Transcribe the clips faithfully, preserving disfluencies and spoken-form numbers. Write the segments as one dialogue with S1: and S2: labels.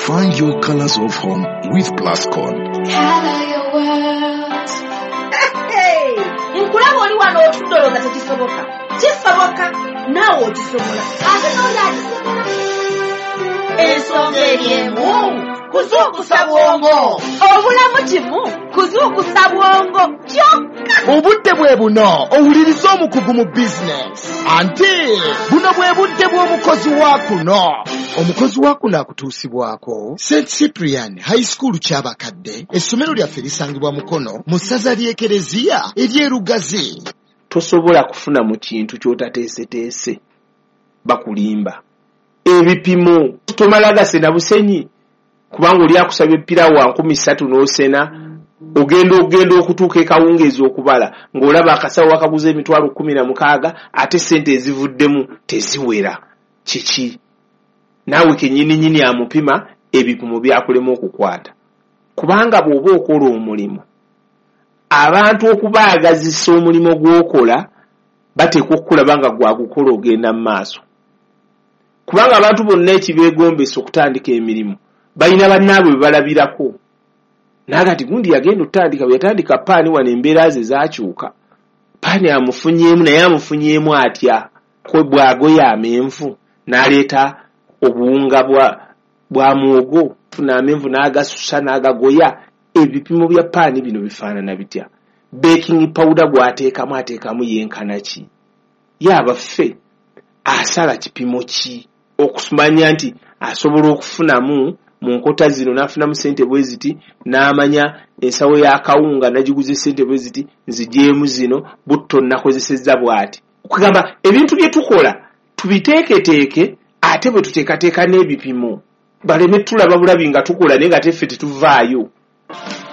S1: Find your colors of home with Plascon.
S2: Color your world.
S3: Hey! Nkulaba oli wano otudde olowooza tekisoboka. Kisoboka, naawe okisobola. Ate n'oli akisobola. Ensonga eri emu, kuzuukusa bwongo. Obulamu kimu, kuzuukusa bwongo kyokka.
S4: Obudde bwe buno owuliriza omukugu mu bizinesi. Anti buno bwe budde bw'omukozi wa kuno. Omukozi wa kuno akutuusibwako Saint Cyprian High School Kyabakadde. Essomero lyaffe lisangibwa Mukono mu ssaza ly'Ekereziya ery'e Lugazi.
S5: Tosobola kufuna mu kintu ky'otateeseteese, bakulimba. Ebipimo tomala gasena busenyi, kubanga oli akusaba epiraawo wa nkumi ssatu n'osena, ogenda ogenda okutuuka ekawungeezi okubala ng'olaba akasawo akaguza emitwalo kkumi na mukaaga ate ssente ezivuddemu teziwera. Kiki? Naawe kennyininyini amupima ebipimo byakulema okukwata. Kubanga bw'oba okola omulimu, abantu okubaagazisa omulimu gw'okola bateekwa okukulaba nga gwagukola ogenda mu maaso. Kubanga abantu bonna ekibeegombesa okutandika emirimu balina bannaabwe be balabirako. Naagati gundi yagenda okutandika, bwe yatandika paani wano embeera ze zaakyuka. Paani amufunyeemu naye amufunyeemu atya? Kwe bw'agoya amenvu n'aleeta obuwunga bwa, bwa muwogo, funa amenvu n'agasusa n'agagoya. Ebipimo bya paani bino bifaanana bitya? Baking powder gw'ateekamu ateekamu yenkana ki? Ye abaffe asala kipimo ki? Okumanya nti asobola okufunamu mu nkota zino n'afunamu ssente bwe ziti, n'amanya ensawo y'akawunga n'agiguza ssente bwe ziti, nzigyemu zino, butto nnakozesezza bw'ati. Okugamba ebintu bye tukola tubiteeketeeke, ate bwe tuteekateeka n'ebipimo baleme tulaba bulabi nga tukola naye nga teffe tetuvaayo.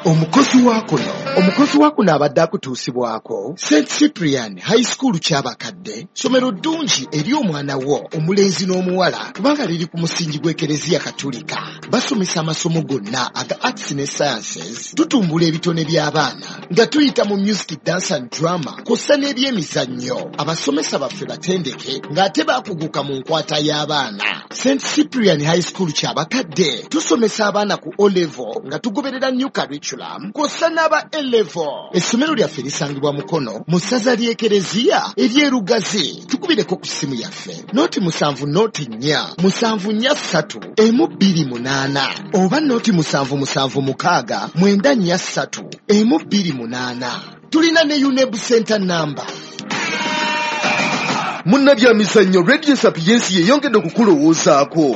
S4: Omukozi wa kuno, omukozi wa kuno abadde akutuusibwako Saint Cyprian High School Kyabakadde, ssomero ddungi eri omwana wo omulenzi n'omuwala kubanga liri ku musingi gw'Ekereziya Katolika. Basomesa amasomo gonna aga arts ne sciences, tutumbula ebitone by'abaana nga tuyita mu music, dance and drama kw'ossa n'ebyemizannyo. Abasomesa baffe batendeke ng'ate baakuguka mu nkwata y'abaana. Saint Cyprian High School Kyabakadde tusomesa abaana ku O level nga tugoberera new curriculum kw'ossa n'aba A level. Essomero lyaffe lisangibwa Mukono mu ssaza ly'Ekereziya ery'e Lugazi. Tukubireko ku ssimu yaffe noti musanvu noti nnya musanvu nnya ssatu emu bbiri munaana oba noti musanvu musanvu mukaaga mwenda nnya ssatu emu bbiri munaana. Tulina ne UNEB Center number.
S6: Munnabyamizannyo, Radio Sapiensi yeyongedde okukulowoozaako.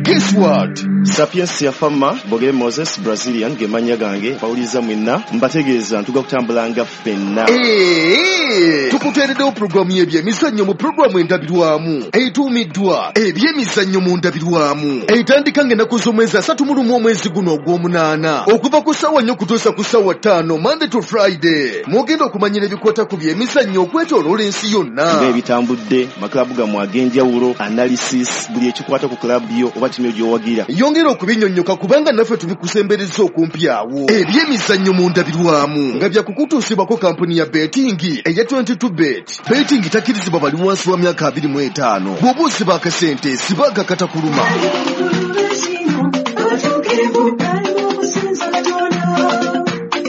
S6: Guess what?
S7: Sapiensia Fama, Bogere Moses, Brazilian, ge mannya gange, bawuliza mwenna, mbategeeza ntuga kutambulanga ffenna.
S6: Ee, tukuteereddewo pulogulaamu y'ebyemizannyo mu pulogulaamu endabirwamu etuumiddwa Ebyemizannyo mu Ndabirwamu, etandika ng'ennaku z'omwezi asatu mu lumu omwezi guno ogw'omunaana okuva ku ssaawa nnya okutuusa ku ssaawa ttaano, Monday to Friday. Mwogenda okumanyira ebikwata ku byemizannyo okwetooloola ensi yonna,
S7: ng'ebitambudde, maklabu gammwe ag'enjawulo, analysis, buli ekikwata ku klabu yo oba ttiimu gy'owagira.
S6: Yongera okubinyonnyoka kubanga naffe tubikusembereza okumpi awo. Ebyemizannyo mu Ndabirwamu nga byakukutuusibwako kampuni ya betting eya twenty-two bet. Betting takkirizibwa bali wansi wa myaka abiri mu etaano. Bw'oba osiba akasente siba akakatakuluma.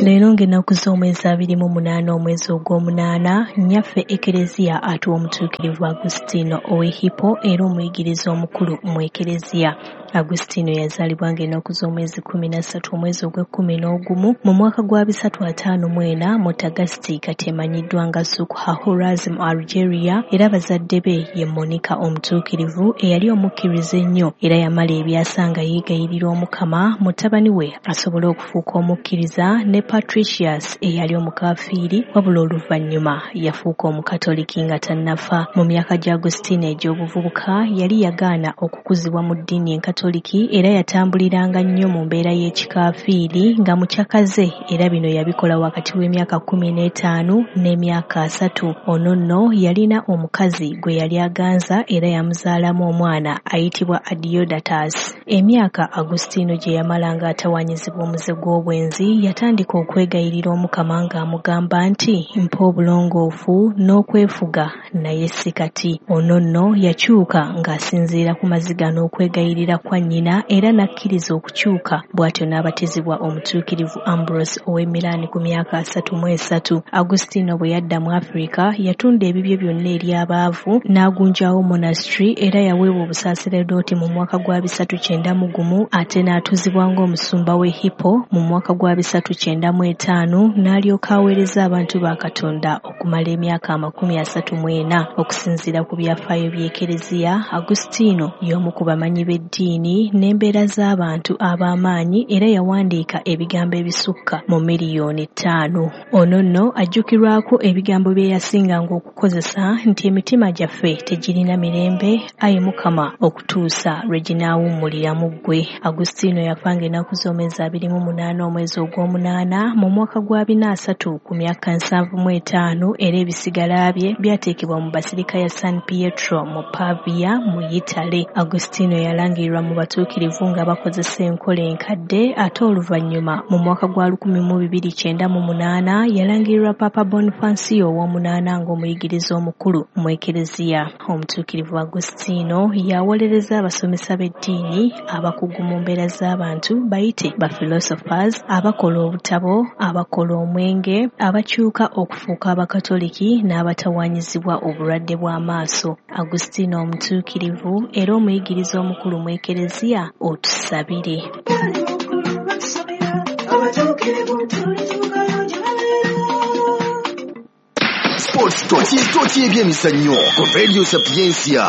S8: Leero ng'ennaku z'omwezi abiri mu munaana omwezi ogw'omunaana, nnyaffe Ekereziya atuwa omutuukirivu Agustino ow'e Hippo era omuyigiriza omukulu mu Ekereziya. Agustino yazaalibwa ng'ennaku z'omwezi kkumi na ssatu omwezi ogw'ekkumi n'ogumu mu mwaka gwa bisatu ataano mu ena mu Tagasti, kati emanyiddwa nga Souk Ahras mu Algeria, era bazadde be ye Monica omutuukirivu eyali omukkiriza ennyo era yamala ebyasa nga yeegayirira Omukama mutabani we asobole okufuuka omukkiriza, ne Patricius eyali omukafiiri wabula oluvannyuma yafuuka omukatoliki nga tannafa. Mu myaka gya Agustino egy'obuvubuka yali yagaana okukuzibwa mu ddiini enkatoliki era yatambuliranga nnyo mu mbeera y'ekikafiiri nga mukyakaze, era bino yabikola wakati w'emyaka kkumi n'etaano n'emyaka asatu. Ono nno yalina omukazi gwe yali aganza era yamuzaalamu omwana ayitibwa Adiodatus. Emyaka Agustino gye yamala ng'atawaanyizibwa omuze gw'obwenzi yatandika Yatandika okwegayirira Omukama ng'amugamba nti mpa obulongoofu n'okwefuga naye si kati. Ono nno yakyuka ng'asinziira ku maziga n'okwegayirira kwa nnyina era n'akkiriza okukyuka, bw'atyo n'abatizibwa omutuukirivu Ambrose ow'e Milan ku myaka asatu mu esatu. Agustino bwe yadda mu Afrika yatunda ebibye byonna eri abaavu n'agunjawo monastery era yaweebwa obusaaseredooti mu mwaka gwa bisatu kyenda mu gumu ate n'atuuzibwa ng'omusumba w'e Hippo mu mwaka gwa bisatu kyenda mu etaano n'alyoka aweereza abantu ba Katonda okumala emyaka amakumi asatu mu ena. Okusinziira ku byafaayo by'Ekereziya, Agustino y'omu ku bamanyi b'eddiini n'embeera z'abantu ab'amaanyi era yawandiika ebigambo ebisukka mu miliyoni ttaano. Ono nno ajjukirwako ebigambo bye yasinganga okukozesa nti emitima gyaffe tegirina mirembe ayi Mukama okutuusa lwe ginaawummulira mu ggwe. Agustino yafanga ennaku z'omwezi abiri mu munaana omwezi ogw'omunaana mu mwaka gwa bina asatu ku myaka nsanvu mu etaano era ebisigala bye byateekebwa mu Basilica ya San Pietro mu Pavia mu Yitale. Agustino yalangirirwa mu batuukirivu nga bakozesa enkola enkadde ate oluvannyuma mu mwaka gwa lukumi mu bibiri kyenda mu munaana yalangirirwa Papa Bonifacio ow'omunaana ng'omuyigiriza omukulu mu Ekereziya. Omutuukirivu Agustino yawolereza abasomesa b'eddiini, abakugu mu mbeera z'abantu bayite ba philosophers, abakola obutabo, abakola omwenge, abakyuka okufuuka abakatoliki n'abatawaanyizibwa obulwadde bw'amaaso. Agustino omutuukirivu era omuyigiriza omukulu mu Ekereziya, otusabire.
S6: Sports Tochi Tochi ebyemizannyo ku Radio Sapientia.